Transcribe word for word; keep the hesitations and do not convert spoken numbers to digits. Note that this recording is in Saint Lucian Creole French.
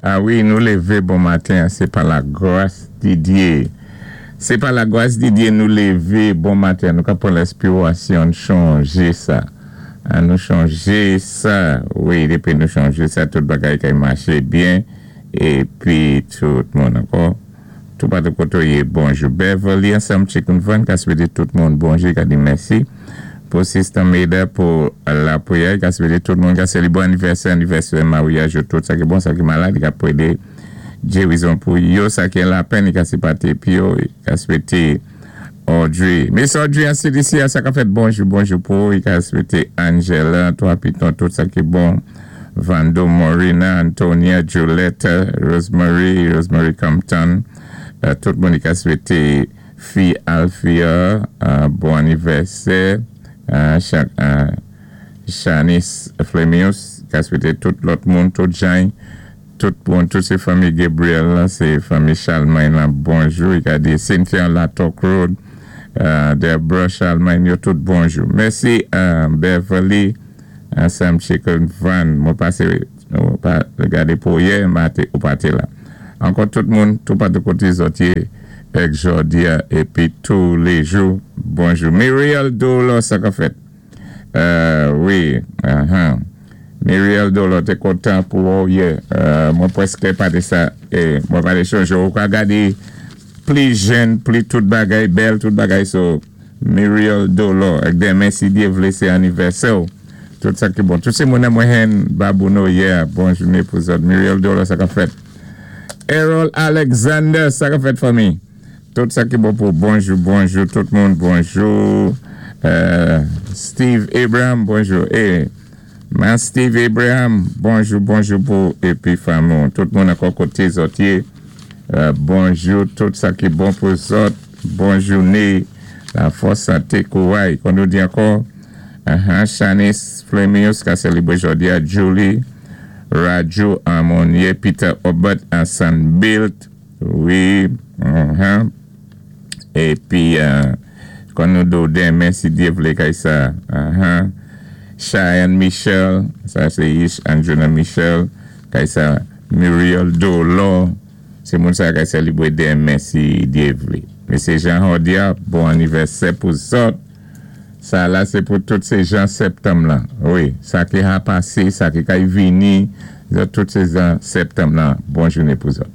A wi, nou lévé bon maten, sé pa lagras di Diyé. Sé pa lagras di Diyé nou lévé bon maten. Nou ka pwan lenspirasyon chanjé sa. An nou chanjé sa. Wi, dépi nou chanjé sa, tout bagay kay maché byen. Épi tout moun ankò. Tout patou koto yé bonjou. Beverly ansanm Chicken Van, ka swété tout moun bonjou, ka di mèsi. Pou Sister Maida, pou la pwiyè, ka swété tout moun, ka sélébwé anivèsè, anivèsè, maryaj, tout sa ki bon, sa ki malad, ka pwédé gérizon pou yo, sa ki an lapenn, ka sipòté pi yo, ka swété Audrey. Miss Audrey, an C D C, sa ka fèt bonjou, bonjou pou, ka swété Angela, toi Piton, tout sa ki bon, Vando Morina, Antonia, Julietta, Rosemary, Rosemary Compton, euh, tout moun ka swété fi Alfia, euh, bon anivèsè, euh, Shanice Flemius, ka swété tout lòt moun, tout jan, tout moun, tout sé fanmi Gabriel, sé fanmi Charlemagne la, bonjou, i ka di Cynthia Latok Road, Deborah Charlemagne, yo tout bonjou. Mèsi Beverly, ansanm Chicken Van, mwen pasé, mwen pa gadé pou yè, ou pa té la. Ankò tout moun, tout patou koté zòt yé, èk jòdi a, épi tou lé jou, bonjou. Muriel Dolo, sa ka fèt? Wi, ahan. Muriel Dolo, té kontan pou ou yè. Mwen pwèské pa té sa, mwen pa té chonjé. Ou ka gadé pli jèn, pli tout bagay, bèl tout bagay, so Muriel Dolo, èk denmen si Diyé vlé sé anivèsè ou. Tout sa ki bon. Tout sé moun mwen hen babouno yè, bon jouné pou zòt. Muriel Dolo, sa ka fèt? Errol Alexander, sa ka fèt, fanmi? Tout sa ki bon pou bonjou, bonjou, tout moun bonjou. Steve Abraham, bonjou. E, man Steve Abraham, bonjou, bonjou pou épi fanmi. Tout moun ankò koté zòt yé. Bonjou, tout sa ki bon pou zòt. Bon jouné, la fòs, santé, kouway. Kon nou di ankò, Shanice Flemius, ka sélébwé jòdi a, Julie, Raju Amonye, Peter Obert, Ansan Bilt, wi, épi, kon nou do denmen, si Diyé vlé kay sa, Cheyenne Michel, sa sé Ish Anjuna Michel, kay sa Muriel Dolo, sé moun sa kay sélébwé denmen, si Diyé vlé. Mesye Jean Hordia, bon anivèsè pou zòt. Sa la sé pou tout sé jan septanm lan. Wi, sa ki a pasé, sa ki kay vini, tout sé jan septanm lan. Bon jouné pou zòt.